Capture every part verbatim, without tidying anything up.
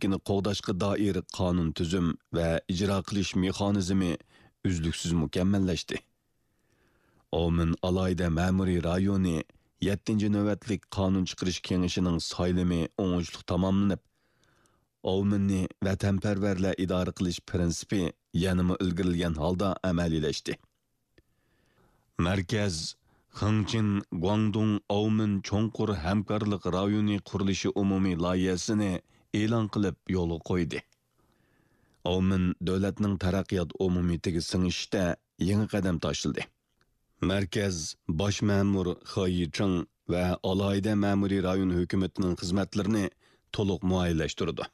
ئەركىنلىكىنى قوغداشقا دائىر قانۇن تۈزۈم ۋە ئىجرا قىلىش مېخانىزمى ئۈزلۈكسىز مۇكەممەللەشتى. ئاۋمېن ئالاھىدە مەمۇرىي رايونى يەتتىنچى نۆۋەتلىك قانۇن چىقىرىش كېڭىشىنىڭ سايلىمى ئوڭۇشلۇق تاماملىنىپ، ئاۋمېننى ۋەتەنپەرۋەرلەر ئىدارە قىلىش پىرىنسىپى يەنىمۇ ئىلگىرىلىگەن ھالدا ئەمەلىيلەشتى. مەركەز خېڭچىن گۇاڭدۇڭ ئاۋمېن چوڭقۇر ھەمكارلىق رايونى قۇرۇلۇشى ئومۇمىي لايىھەسىنى ئېلان قىلىپ يولغا قويدى. ئاۋمېن دۆلەتنىڭ تەرەققىيات ئومۇمىيىتىگە سىڭىشىشتە يېڭى قەدەم تاشلىدى. مەركەز باش مەمۇر خې يىچىڭ ۋە ئالاھىدە مەمۇرىي رايون ھۆكۈمىتىنىڭ خىزمەتلىرىنى تولۇق مۇئەييەنلەشتۈرىدۇ.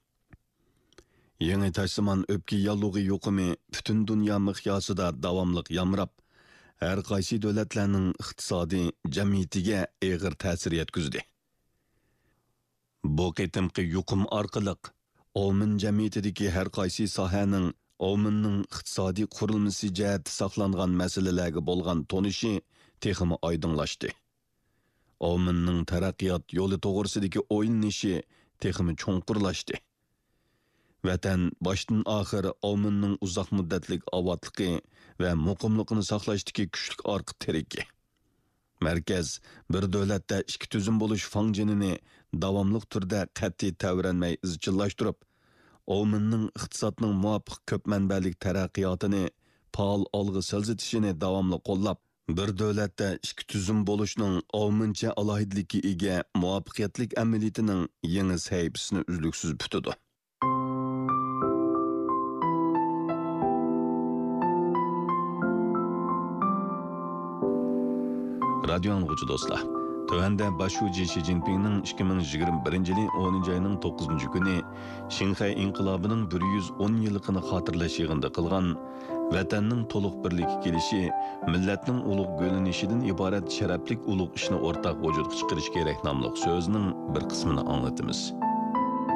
يېڭى تاشسىمان ئۆپكە ياللۇغى يۇقۇمى پۈتۈن دۇنيا مىقياسىدا داۋاملىق يامراپ، ھەر قايسى دۆلەتلەرنىڭ ئىقتىسادىي جەمئىيىتىگە ئېغىر تەسىر يەتكۈزدى. بۇ قېتىمقى يۇقۇم ئارقىلىق ئاۋمېن جەمئىيىتىدىكى ھەر قايسى ساھەنىڭ ئاۋمېننىڭ ئىقتىسادىي قۇرۇلمىسى جەھەتتە ساقلانغان مەسىلىلەرگە بولغان تونۇشى تېخىمۇ ئايدىڭلاشتى. ئاۋمېننىڭ تەرەققىيات يولى توغرىسىدىكى ئويلىنىشى تېخىمۇ چوڭقۇرلاشتى. ۋەتەن باشتىن ئاخىر ئاۋمېننىڭ ئۇزاق مۇددەتلىك ئاۋاتلىقى ۋە مۇقىملىقىنى ساقلاشتىكى كۈچلۈك ئارقا تىرىكى. مەركەز بىر دۆلەتتە ئىككى تۈزۈم بولۇش فاڭجېنىنى داۋاملىق تۈردە قەتئىي تەۋرەنمەي ئىزچىللاشتۇرۇپ، ئاۋمېننىڭ ئىقتىسادنىڭ مۇۋاپىق كۆپ مەنبەلىك تەرەققىياتىنى پائال ئالغا سىلجىتىشىنى داۋاملىق قوللاپ، بىر دۆلەتتە ئىككى تۈزۈم بولۇشنىڭ ئاۋمېنچە ئالاھىدىلىككە ئىگە مۇۋەپپەقىيەتلىك ئەمەلىيىتىنىڭ يېڭى سەھىپىسىنى ئۈزلۈكسىز پۈتىدۇ. رادىيو ئاڭلىغۇچى دوستلار، تۆۋەندە باش شۇجى شى جىنپىڭنىڭ ئىككى مىڭ يىگىرمە بىرىنچى يىلى ئونىنچى ئاينىڭ توققۇزىنچى كۈنى شىنخەي ئىنقىلابىنىڭ بىر يۈز ئون يىللىقىنى خاتىرىلەش يىغىنىدا قىلغان ۋەتەننىڭ تولۇق بىرلىككە كېلىشى، مىللەتنىڭ ئۇلۇغ گۈللىنىشىدىن ئىبارەت شەرەپلىك ئۇلۇغ ئىشنى ئورتاق ۋۇجۇدقا چىقىرىش كېرەك ناملىق سۆزىنىڭ بىر قىسمىنى ئاڭلىتىمىز.